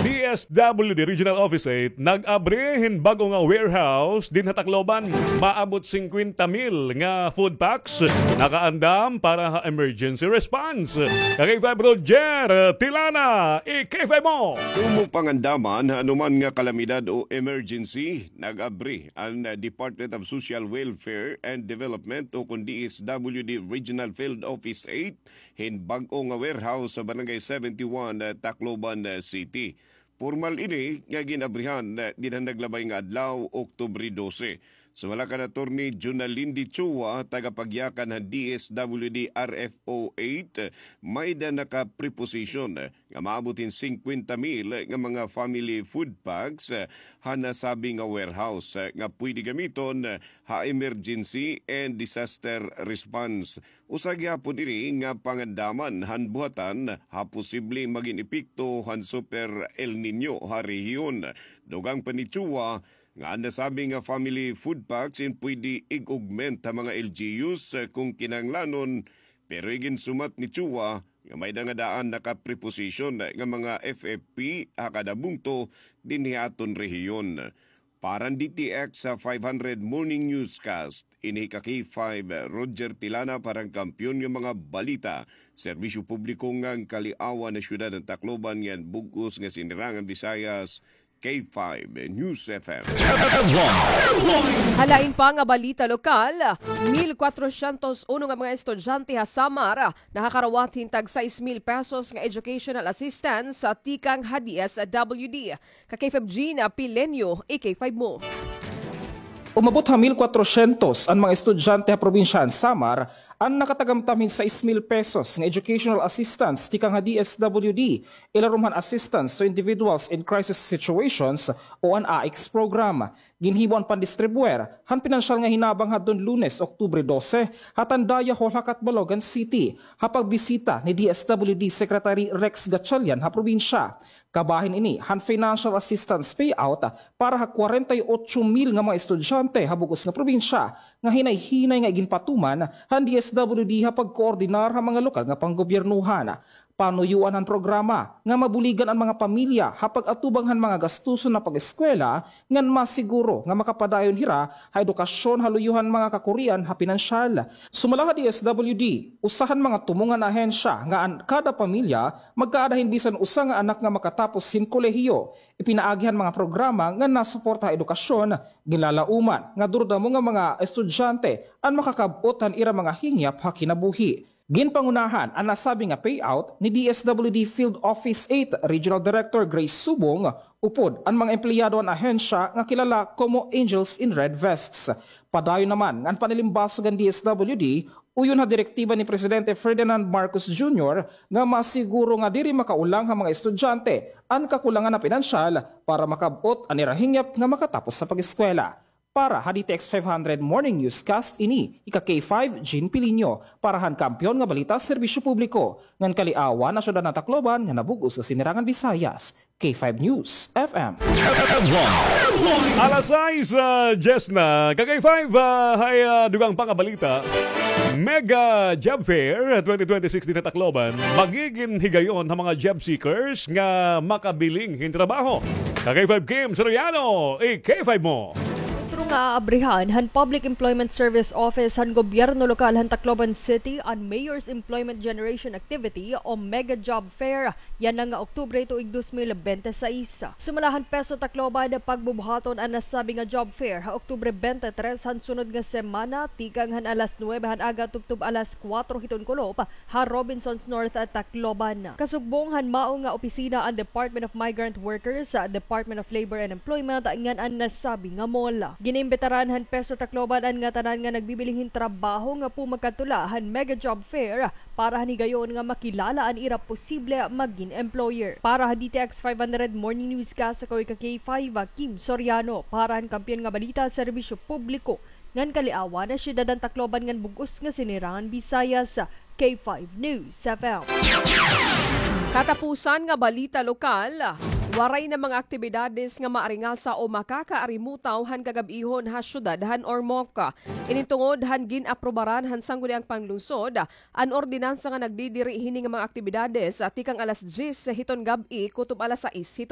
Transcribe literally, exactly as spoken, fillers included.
D S W D Regional Office eight nag-abri hin bag-o nga warehouse dinhi ha Tacloban. Maabot singkwenta mil nga food packs nakaandam para ha emergency response. Ka K five Roger Tilana, i-K five mo. Tumong pangandaman ha anuman nga kalamidad o emergency, nag-abri an Department of Social Welfare and Development o kon D S W D Regional Field Office eight hin bag-o nga warehouse sa Barangay seventy-one, Tacloban City. Pormal ini nga gin-abrihan dinhi han naglabay nga adlaw, Oktubre dose. Sumala kan Attorney Junalyn Dichua, tagapagyakan han D S W D R F O eight, may-ada nakapreposition nga maabot hin singkwenta mil nga mga family food packs ha nasabi nga warehouse nga pwede gamiton ha emergency and disaster response. Usa gihapon ini nga pangandaman han buhatan ha posibleng magin epekto han Super El Niño ha rehiyon. Dugang pa ni Chua nga an nasabi nga family food packs in pwede ig-augment ha mga L G Us kon kinahanglanon, pero iginsumat ni Chua nga may-ada nga daan nakapreposition nga mga F F P ha kada bungto dinhi ha aton rehiyon. Para han D T X five hundred Morning Newscast, ini ka K five, Roger Tilana para han Kampiyon nga mga Balita, Serbisyo Publiko ngan Kaliawan ha Syudad han Tacloban ngan bug-os nga Sinirangan Visayas, K five News F M. Ha lain pa nga balita lokal, mil kwatrosyentos uno nga mga estudyante ha Samar nakakarawat hin tag sais mil pesos nga educational assistance tikang ha D S W D. Ka K five Gina Pilenio, i-K five mo. Umabot ha mil kwatrosyentos an mga estudyante ha probinsya han Samar an nakatagamtam hin sais mil pesos nga educational assistance tikang ha D S W D, ilarom han Assistance to Individuals in Crisis Situations o an AICS program. Ginhimo an pandistribuer han pinansyal nga hinabang hadton Lunes, Oktubre dose, ha Tandaya Hall ha Catbalogan City, ha pagbisita ni D S W D Secretary Rex Gatchalian ha probinsya. Kabahin ini han financial assistance payout para ha kwarenta y otso mil nga mga estudyante ha bug-os nga probinsya nga hinay-hinay nga iginpatuman han D S W D ha pagkoordinar ha mga lokal nga panggobyernohan. Panuyoan han programa nga mabuligan an mga pamilya ha pag-atubang han mga gastuson ha pag-eskwela ngan masiguro nga makapadayon hira ha edukasyon ha luyo han mga kakurian ha pinansyal. Sumala ha D S W D, usa han mga tumong han ahensya nga an kada pamilya magkaada hin bisan usa nga anak nga makatapos hin kolehiyo. Ipinaagi han mga programa nga nasuporta ha edukasyon, ginlalauman nga duro damo nga mga estudyante an makakab-ot han ira mga hingyap ha kinabuhi. Ginpangunahan an nasabi nga payout ni D S W D Field Office eight Regional Director Grace Subong upod an mga empleyado han ahensya nga kilala komo Angels in Red Vests. Padayon naman nga an panalimbasog han D S W D uyon ha direktiba ni Presidente Ferdinand Marcos Junior nga masiguro nga diri makaulang ha mga estudyante an kakulangan ha pinansyal para makab-ot an ira hingyap nga makatapos sa pag-eskwela. Para ha D T X five hundred Morning Newscast, ini ika K five, Jean Pilinho, para han Kampiyon nga Balita, Serbisyo Publiko, ngan Kaliawan ha Syudad han Tacloban ngan ha bug-os nga Sinirangan Visayas, K five News F M. Alas sais, ah, diyes na. Ka K five, ah, hay, ah, dugang pa nga balita. Mega Job Fair twenty twenty-six dinhi ha Tacloban, magigin higayon ha mga job seekers nga makabiling hin trabaho. Ka K five Kim Soriano, i-K five mo. Sentro nga aabrihan han Public Employment Service Office han gobyerno lokal han Tacloban City an Mayor's Employment Generation Activity o Mega Job Fair yana nga Oktubre tuig dos mil bente sais. Sumala han PESO Tacloban, pagbubuhaton an nasabi nga job fair ha Oktubre bente tres han sunod nga semana, tikang han alas nuwebe han aga tubtob alas kuwatro hiton kulop ha Robinsons North, Tacloban. Kasugbong han mao nga opisina an Department of Migrant Workers, Department of Labor and Employment, ngan an nasabi nga mall. Giniimbitaran han PESO Tacloban an ngatanan nga nagbibiling hin trabaho nga pumagkadto la han Mega Job Fair para han higayon nga makilala an ira posible magin employer. Para ha D T X five hundred Morning Newscast, ako ika K five, Kim Soriano, para han Kampiyon nga Balita, Serbisyo Publiko, ngan Kaliawan ha Syudad han Tacloban ngan bug-os nga Sinirangan Visayas, K five News F M. Katapusan nga balita lokal, waray na mga aktibidades nga maaringasa o makakaarimutaw han kagab-ihon ha syudad han Ormoc. Ini tungod han gin-aprobaran han Sangguniang Panlungsod an ordinansa nga nagdidiri hini nga mga aktibidades, ah, tikang alas diyes hiton gab-i kutob alas sais hiton